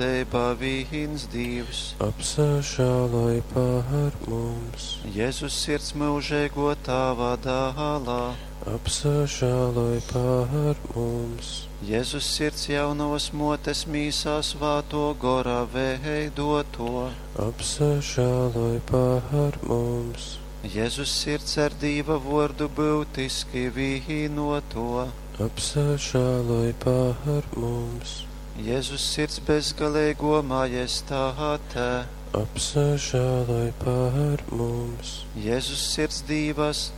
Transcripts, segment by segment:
Deba vīns Dīvs. Apsažāloj par mums. Jēzus sirds mūžīgo Tāva dālā. Apsažāloj par mums. Jēzus sirds jaunavas motes mīsā svāto gora veidoto. Apsažāloj par mums. Jēzus sirds ar Dīva vordu būtiski vīnoto. Apsažāloj par mums. Jēzus sirds bezgalīgo majestāte. Apsažāloj par mums. Jēzus sirds Dīvas,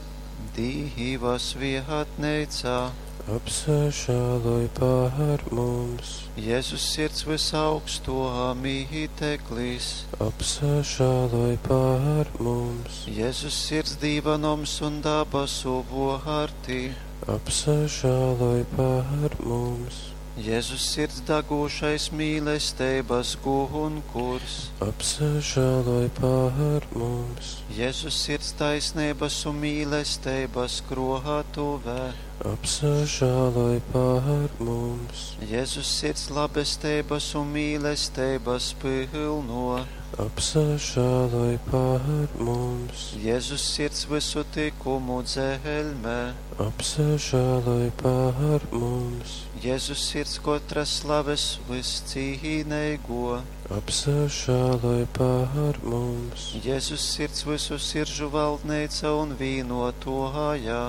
Dīvas vietnīcā. Apsažāloj par mums. Jēzus sirds visaugsto mīteklis. Apsažāloj par mums. Jēzus sirds Dīva noms un dabasu vārti. Apsažāloj par mums. Jēzus sirds dagošais mīlestības gunkurs. Apsažāloj par mums. Jēzus sirds taisnības un mīlestības krohatuvē. Apsažāloj par mums. Jēzus sirds labestības un mīlestības pilno. Apsažāloj par mums. Jēzus sirds visu tikumu dzelmē. Apsažāloj par mums. Jēzus sirds katras slaves viscīnīgo. Apsažāloj par mums. Jēzus sirds visu siržu valdneica un vīnotoja.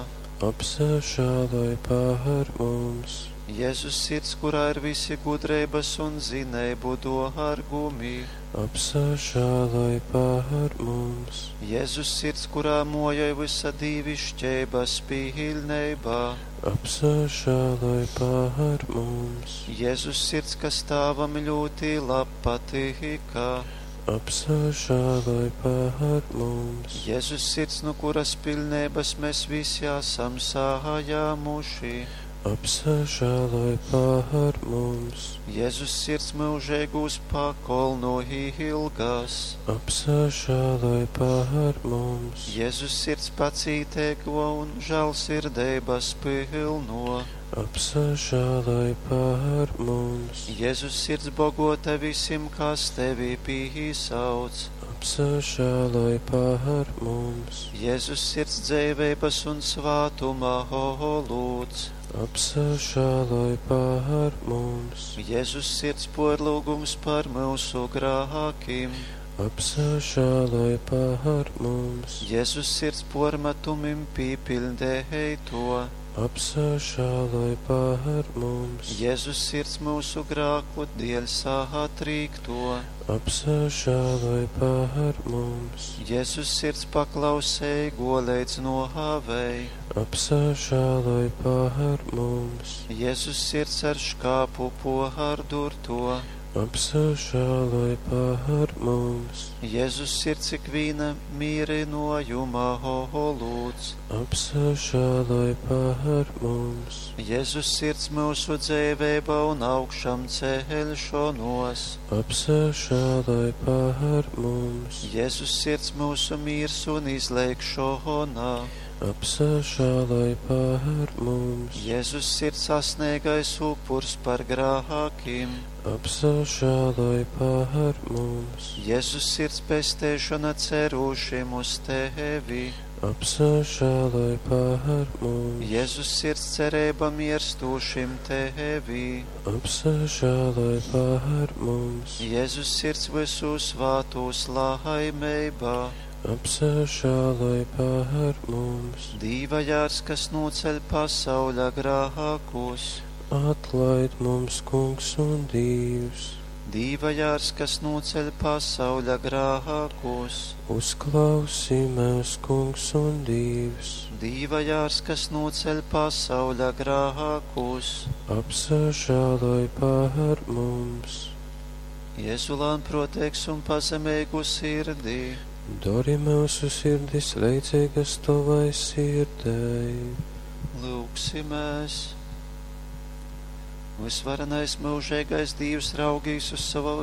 Apsažāloj par mums. Jēzus sirds, kurā ir visi gudrības un zinību dārgumi. Apsažāloj par mums. Jēzus sirds, kurā mojoj visa dīvišķības pilnībā. Apsažāloj par mums. Jēzus sirds, kas tāvam ļoti labpatīka. Apsažāloj par mums. Jēzus sirds, no kuras pilnības mēs visi esam sājāmuši. Apsažāloj par mums. Jēzus sirds mūžīgūs pakolnu ilgas. Apsažāloj par mums. Jēzus sirds pacītēgo un žēlsirdības pilno. Apsažāloj par mums. Jēzus sirds bogota visiem, kas tevi pīsauc. Apsažāloj par mums. Jēzus sirds dzīvības un svātuma lūdz. Apsažāloj par mums. Jēzus sirds porlūgums par mūsu grākiem. Apsažāloj par mums. Jēzus sirds pormetumim pīpildēja to. Apsažāloj par mums. Jēzus sirds mūsu grāku dēļ sātrīkto. Apsažāloj par mums. Jēzus sirds paklausēja līdz nohāvei. Apsažāloj par mums. Jēzus sirds ar škāpu pohārdurto. Apsažāloj par mums. Jēzus sirds ikviena mīrinojuma lūdz. Apsažāloj par mums. Jēzus sirds mūsu dzīvība un augšām ceļšanos. Apsažāloj par mums. Jēzus sirds mūsu miers un izlēkšana. Apsažāloj par mums. Jēzus sirds sasniegais upurs par grākiem. Apsažāloj par mums. Jēzus sirds pestēšana cerušiem uz tevi. Apsažāloj par mums. Jēzus sirds cerība mirstošiem tevi. Apsažāloj par mums. Jēzus sirds visu svātus laimībā. Apsažāloj par mums. Dīva jārs, kas noceļ pasauļa grākus. Atlaid mums, kungs un Dievs. Dīva jārs, kas noceļ pasauļa grākus. Uzklausī mūs, kungs un Dievs. Dīva jārs, kas noceļ pasauļa grākus. Apsažāloj par mums. Jēzu lānprotēks un pazemīgu sirdī. Dari mūsu sirdis leidzīgas tavai sirdei. Lūksimies! Visvarenais mūžīgais Dievs raugīs uz savu